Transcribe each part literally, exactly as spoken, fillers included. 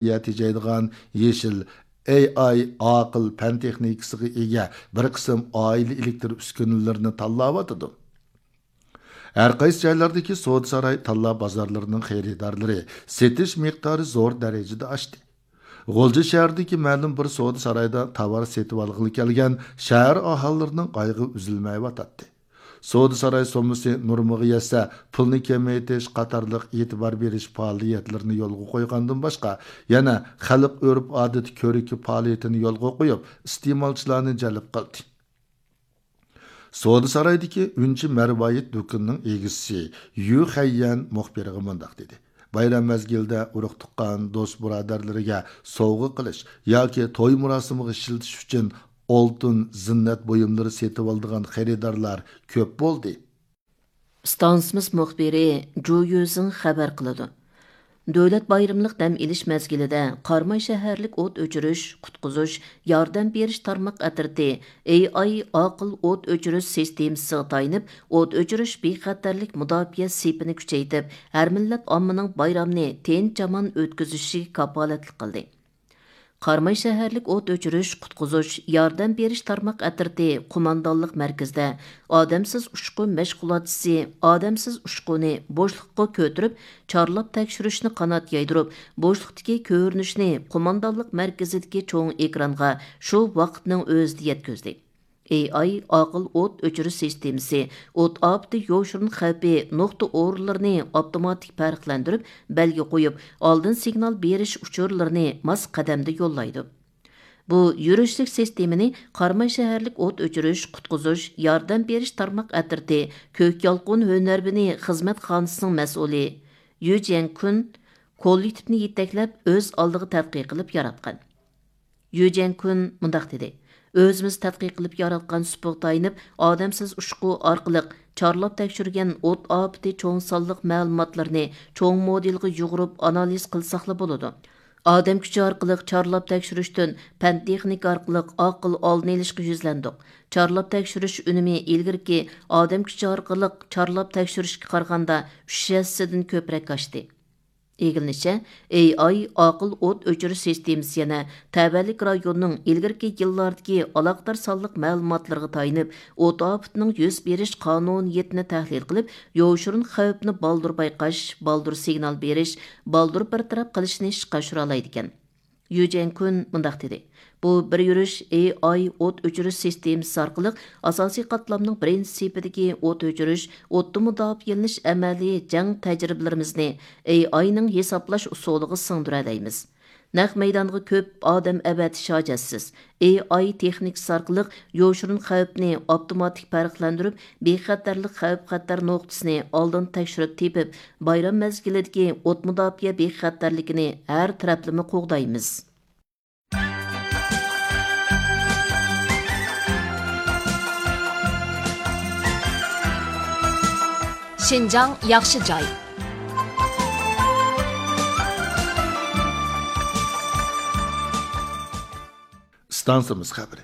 تېجەيدىغان يېشىل، ئېي ئاي، ئاقىل پەن تېخنىكىسىغا ئىگە بىر قىسىم ئائىلە ئېلېكتر ئۈسكۈنىلىرىنى تاللاۋاتىدۇ. ھەر قايسى جايلاردىكى سودا ساراي تاللا بازارلىرىنىڭ خېرىدارلىرى، سېتىش مىقدارى زور دەرىجىدە ئاشتى. غۇلجا شەھىرىدىكى مەلۇم بىر سودا سارايدا تاۋار سېتىۋالغىلى كەلگەن شەھەر ئاھالىلىرىنىڭ ئايىغى ئۈزۈلمەيۋاتاتتى. سودا ساراي سوممىسى نورمىغا يەتسە، پۇلنى كېمەيتىش قاتارلىق ئېتىبار بېرىش پائالىيەتلىرىنى يولغا قويغاندىن باشقا، يەنە خەلق ئۆرپ-ئادىتى كۆرىكى پائالىيىتىنى يولغا قويۇپ، ئىستېمالچىلارنى جەلپ قىلدى. سودا سارايدىكى ئۈنچە مەرۋايىت دۇكىنىنىڭ ئىگىسى يۈ خەييەن مۇخبىرغا مۇنداق دېدى: بايرام مەزگىلىدە ئۇرۇق-تۇغقان، دوست-بۇرادەرلىرىگە سوۋغا قىلىش ياكى توي مۇراسىمىغا ئىشلىتىش ئۈچۈن ئالتۇن، زىننەت بۇيۇملىرى سېتىۋالىدىغان خېرىدارلار كۆپ بولدى. ئىستانسىمىز مۇخبىرى جۇ يۈزىڭ خەۋەر قىلىدۇ. دۆلەت بايرىملىق دەم ئېلىش مەزگىلىدە قاراماي شەھەرلىك ئوت ئۆچۈرۈش، قۇتقۇزۇش، ياردەم بېرىش تارماق ئەترىتى ئېي ئاي ئاقىل ئوت ئۆچۈرۈش سىستېمىسىغا تايىنىپ، ئوت ئۆچۈرۈش بىخەتەرلىك مۇداپىئە سېپىنى كۈچەيتىپ، ھەر مىللەت ئاممىنىڭ بايرامنى تىنچ-ئامان ئۆتكۈزۈشىگە كاپالەتلىك قىلدى. قاراماي شەھەرلىك ئوت ئۆچۈرۈش، قۇتقۇزۇش، ياردەم بېرىش تارماق ئەترىتى قوماندانلىق مەركىزىدە ئادەمسىز ئۇچقۇن مەشغۇلاتچىسى ئادەمسىز ئۇچقۇنى بوشلۇققا كۆتۈرۈپ، چارلاپ تەكشۈرۈشنى قانات يايدۇرۇپ، بوشلۇقتىكى كۆرۈنۈشنى قوماندانلىق مەركىزىدىكى چوڭ ئېكرانغا شۇ ۋاقىتنىڭ ئۆزىدە يەتكۈزدى. ئېي ئاي ئاقىل ئوت ئۆچۈرۈش سىستېمىسى ئوت ئاپىتى يوشۇرۇن خەۋپى نۇقتا ئورۇنلىرىنى ئاپتوماتىك پەرقلەندۈرۈپ، بەلگە قويۇپ، ئالدىن سىگنال بېرىش ئۇچۇرلىرىنى ماس قەدەمدە يوللايدۇ. بۇ يۈرۈشلۈك سىستېمىنى قاراماي شەھەرلىك ئوت ئۆچۈرۈش، قۇتقۇزۇش، ياردەم بېرىش تارماق ئەترىتى كۆك يالقۇن ھۈنەرۋىنى خىزمەت خانىسىنىڭ مەسئۇلى يۈ جيەنكۈن كوللېكتىپنى يېتەكلەپ، ئۆز ئالدىغا تەتقىق قىلىپ ياراتقان. يۈ جيەنكۈن مۇنداق دېدى: ئۆزىمىز تەتقىق قىلىپ ياراتقان سۇپىغا تايىنىپ، ئادەمسىز ئۇچقۇ ئارقىلىق چارلاپ تەكشۈرگەن ئوت ئاپىتى چوڭ سانلىق مەلۇماتلىرىنى چوڭ مودېلغا يۇغۇرۇپ ئانالىز قىلساقلا بولىدۇ. ئادەم كۈچى ئارقىلىق چارلاپ تەكشۈرۈشتىن پەن تېخنىكا ئارقىلىق ئاقىل ئالدىنى ئېلىشقا يۈزلەندۇق. چارلاپ تەكشۈرۈش ئۈنۈمى ئىلگىرىكى ئادەم كۈچى ئارقىلىق چارلاپ تەكشۈرۈشكە قارىغاندا ئۈچ ھەسسىدىن كۆپرەك ئاشتى. ئىگىلىنىشىچە، ئېي ئاي ئاقىل ئوت ئۆچۈرۈش سىستېمىسى يەنە تەۋەلىك رايوننىڭ ئىلگىرىكى يىللاردىكى ئالاقىدار سانلىق مەلۇماتلىرىغا تايىنىپ، ئوت ئاپىتىنىڭ يۈز بېرىش قانۇنىيىتىنى تەھلىل قىلىپ، يوشۇرۇن خەۋپنى بالدۇر بايقاش، بالدۇر سىگنال بېرىش، بالدۇر بىر تەرەپ قىلىشنى ئىشقا ئاشۇرالايدىكەن. يۈ جيەنكۈن مۇنداق دېدى: بۇ بىر يۈرۈش ئېي ئاي ئوت ئۆچۈرۈش سىستېمىسى ئارقىلىق ئاساسىي قاتلامنىڭ بىرىنچى سېپىدىكى ئوت ئۆچۈرۈش، ئوتتىن مۇداپىئەلىنىش ئەمەلىي جەڭ تەجرىبىلىرىمىزنى ئېي ئاينىڭ ھېسابلاش ئۇسۇلىغا سىڭدۈرەلەيمىز. نەق مەيدانغا كۆپ ئادەم ئەۋەتىش ھاجەتسىز. ئېي ئاي تېخنىكىسى ئارقىلىق يوشۇرۇن خەۋپنى ئاپتوماتىك پەرقلەندۈرۈپ، بىخەتەرلىك خەۋپ-خەتەر نۇقتىسىنى ئالدىن تەكشۈرۈپ تېپىپ، بايرام مەزگىلىدىكى ئوت مۇداپىئە بىخەتەرلىكىنى ھەر تەرەپلىمە قوغدايمىز. شىنجاڭ ياخشى جاي. ئىستانسىمىز خەۋىرى.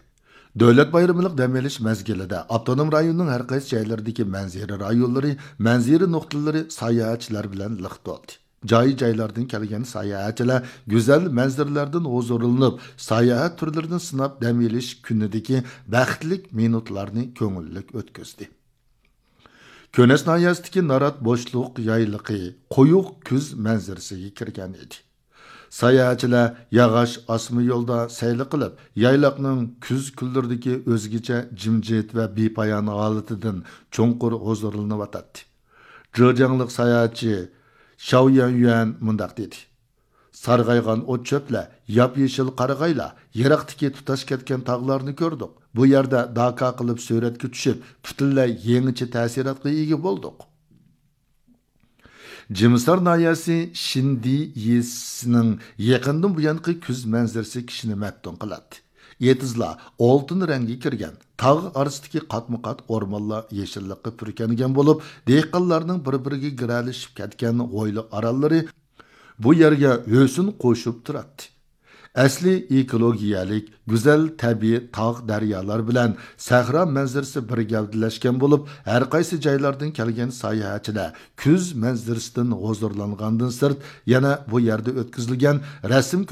دۆلەت بايرىملىق دەم ئېلىش مەزگىلىدە ئاپتونوم رايوننىڭ ھەر قايسى جايلىرىدىكى مەنزىرە رايونلىرى مەنزىرە نۇقتىلىرى ساياھەتچىلەر بىلەن لىق تولدى. جاي-جايلاردىن كەلگەن ساياھەتچىلەر گۈزەل مەنزىرىلەردىن ھۇزۇرلىنىپ، ساياھەت تۈرلىرىدىن سىناپ دەم ئېلىش كۈنىدىكى بەختلىك مىنۇتلارنى كۆڭۈللۈك ئۆتكۈزدى. كۈنەس ناھىيەسىدىكى نارات بوشلۇق يايلىقى قويۇق كۈز مەنزىرىسىگە كىرگەن ئىدى. ساياھەتچىلەر ياغاچ ئاسما يولدا سەيلە قىلىپ، يايلاقنىڭ كۈز كۈنلىرىدىكى ئۆزگىچە جىمجىت ۋە بىپايان ھالىتىدىن چوڭقۇر ھۇزۇرلىنىۋاتاتتى. جېجياڭلىق ساياھەتچى شاۋ يۈەنيۈەن مۇنداق دېدى: سارغايغان ئوت-چۆپلەر، ياپيېشىل قارىغايلار، يىراقتىكى تۇتاش كەتكەن تاغلارنى كۆردۇق. بۇ يەردە داكا قىلىپ سۈرەتكە چۈشۈپ، پۈتۈنلەي يېڭىچە تەسىراتقا ئىگە بولدۇق. جىمىسار ناھىيەسى شىندى يېزىسىنىڭ يېقىندىن بۇيانقى كۈز مەنزىرىسى كىشىنى مەپتۇن قىلاتتى. ئېتىزلار ئالتۇن رەڭگە كىرگەن، تاغ ئارىسىدىكى قاتمۇ-قات ئورمانلار يېشىللىققا پۈركەنگەن بولۇپ، دېھقانلارنىڭ بىر-بىرىگە گىرەلىشىپ كەتكەن ھويلا ئارانلىرى بۇ يەرگە ھۆسن قوشۇپ تۇراتتى. ئەسلىي ئېكولوگىيەلىك، گۈزەل تەبىئىي تاغ، دەريالار بىلەن سەھرا مەنزىرىسى بىر گەۋدىلەشكەن بولۇپ، ھەر قايسى جايلاردىن كەلگەن ساياھەتچىلەر كۈز مەنزىرىسىدىن ھۇزۇرلانغاندىن سىرت، يەنە بۇ يەردە ئۆتكۈزۈلگەن رەسىم